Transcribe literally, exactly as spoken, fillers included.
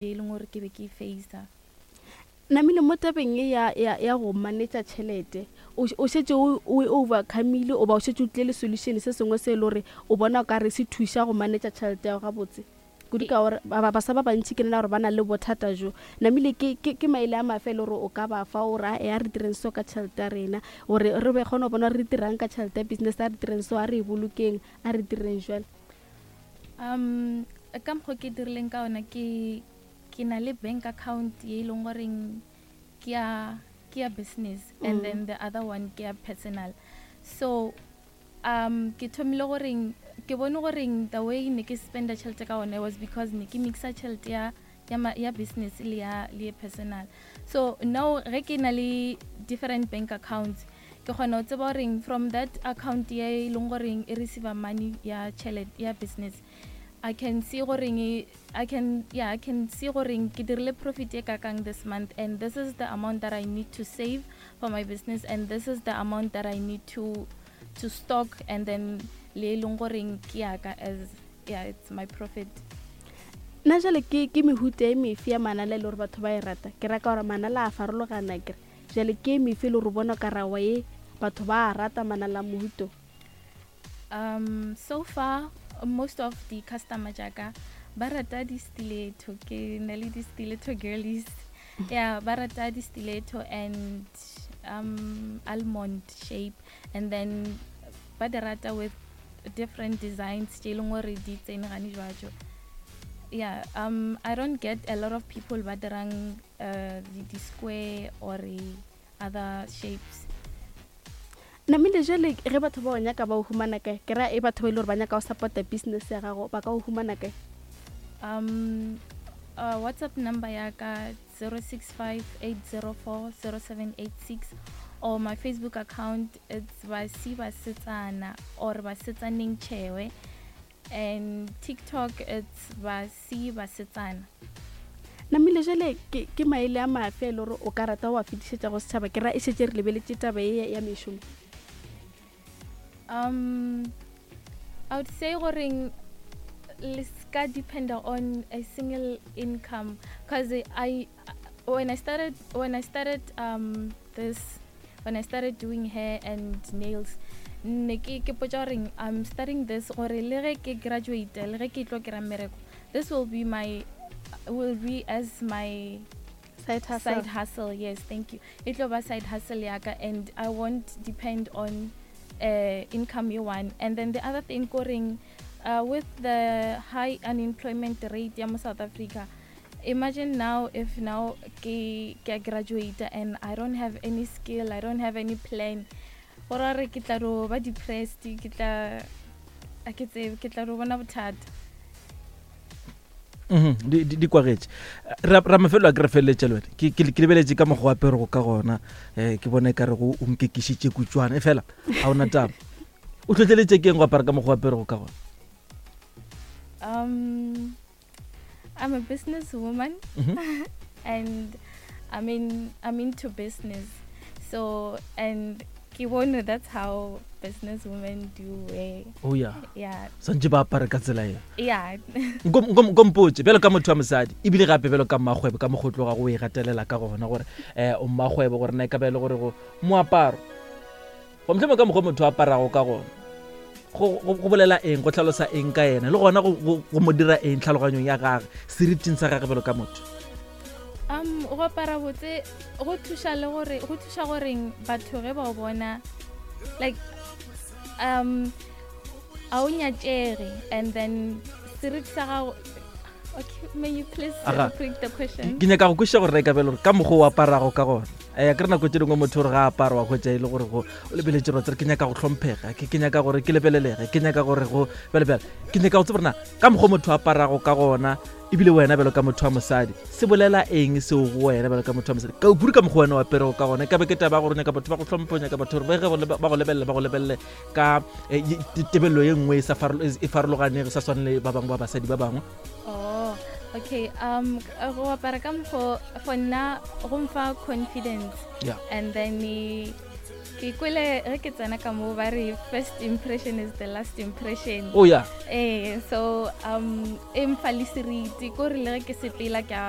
E leng gore ke be ke e facea. Namile mo tabeng e ya, ya, ya go manetša tšhelete, o, o šetše o, o e overcomile oba o šetše o tlile le solution se sengwe se e le gore o bona o ka re se thuša go manetša tšhelete ya gago gabotse kudu, ka gore ba- ba- baswa ba bantši ke nna gore ba na le bothata jo? Namile ke, ke, ke maele a mafe e le gore o ka ba fa o re, "A re direng so ka tšhelete ya rena gore re be kgone go bona gore re dirang ka tšhelete ya business? A re direng so, a re e bolokeng, a re direng jwale"? um ka mokgwa ke dirileng ka ona, ke ke na le bank account ye e leng goreng ke ya ke ya business and Mm. then the other one ke ya personal. So um ke thomile goreng ke bone goreng the way ne ke spenda tšhelete ka ona was because ne ke mixa tšhelete ya ya, ma- ya business le ya le ya personal. So now ge ke na le different bank accounts, ke kgona go tseba goreng from that account ye e leng goreng e receive money ya tšhelete ya business, I can see goreng e- I can yeah I can see goreng ke dirile profit e kakang this month, and this is the amount that I need to save for my business, and this is the amount that I need to to stock, and then le e leng goreng ke yaka as, yeah, it's my profit. Nna jale ke ke mehuta e mefe ya manala e le gore batho ba e rata? Ke raka gore manala a farologana kere, jale ke e mefe e le gore o bona ka rawa e batho ba a rata manala a mohuto? um so far, most of the customer jaaka ba rata di-stiletto. Ke na le di-stiletto girlies, yeah, ba rata di-stiletto and um almond shape, and then ba di rata with different designs tše e leng gore di tsene gane jwajo. Yeah, um I don't get a lot of people ba dirang uh, di, di square or other shapes. Namile jale ge batho ba o nyaka, ba o humana kae? Ke ra e batho ba e le gore ba nyaka go support-a business ya gago, ba ka o humana kae? um uh, WhatsApp number ya ka zero six five, eight zero four, zero seven eight six, or my Facebook account, it's Basi Basetsana or Basetsaneng Chewe, and TikTok it's Basi Basetsana. Namile jale ke, ke maele a mafe e le gore o ka rata go a fetišetša go setšhaba? Ke ra e šetše re lebeletše taba e ya mešomo. um I would say goreng le ska depend on a single income, because I when I started when I started um this when I started doing hair and nails, ne ke ke potša goreng I'm starting this gore le ge ke graduate, le ge ke tlo kry-a mmereko, this will be my will be as my side hustle. Side hustle, yes, thank you. E tlo ba side hustle yaka and I won't depend on uh, income ye one. And then the other thing koreng uh, with the high unemployment rate ya mo South Africa, imagine now if now ke ke a graduate and I don't have any skill, I don't have any plan, gore re ke tla ro ba depressed, ke tla a ke tsebe, ke tla ro bona bothata. Mhm, di di- di kwagetše ra ra mafelo a ke re feleletše le wena. Ke ke- ke lebeletše ka mokgwa wa aperego ka gona, um ke bona e ka re go o nkekišitše kutswana, e fela ga ona taba. O tlhotlheletše ke eng go apara ka mokgwa wa aperego ka gona? um I'm a businesswoman Mhm. and I mean, I'm into business. So and ke bone that's how business women do wear. Oh ya. Yeah. Swantše ba apare ka tsela eo? Yeah. Nko nko- nko mpotse, bjalo ka motho wa mosadi ebile gape bjalo ka mmakgwebo, ka mokgotlo ga go e gatelela ka gona gore um o mmakgwebo, gore na e ka ba e le gore go moaparo go mohlomong ka mokgwa motho a aparago ka gona go go- go bolela eng, go tlhalosa eng ka ena, le gona go- go go mo dira eng tlhaloganyong ya gage, seriting sa gage bjalo ka motho? um go apara botse go thuša le gore go thuša goreng batho ge ba o bona, like um a o nyatšege, and then seriti sa gago. Okay, may you please Aga. repeat the question? Ke nyaka go kwešiša gore re ka bele gore ka mokgwa o aparago ka gona, um ke re nako tse dingwe motho gore ga apara wa hwetša e le gore go o lebeletse gore tsere ke nyaka go hlomphega, ke ke nyaka gore ke lebelelege, ke nyaka gore go bjalebjale. Ke nyaka go tseba gore na ka mokgwa motho a aparago ka gona, ebile wena bjalo ka motho wa mosadi, se bolela eng seo go wena bjalo ka motho wa mosadi, ka kudu ka mokgwa wena o aperego ka gona? E ka be ke taba ya gore o nyaka batho ba go hlomphe, o nyaka batho gore ba ge ba go lebelela, ba go lebelele ka eh, ye- te- tebelelo ye nngwe e sa farolo- e farologanego, sa swane le ba bangwe ba basadi ba bangwe. Oh, okay. Um, go apara ka mokgo, for nna go mfa confidence. Yeah. And then eh, Ke kwele ge ke tsena ka mo ba re first impression is the last impression. Oh ya. Eh, so um e mfa le seriti, ko re le ge ke sepela ke a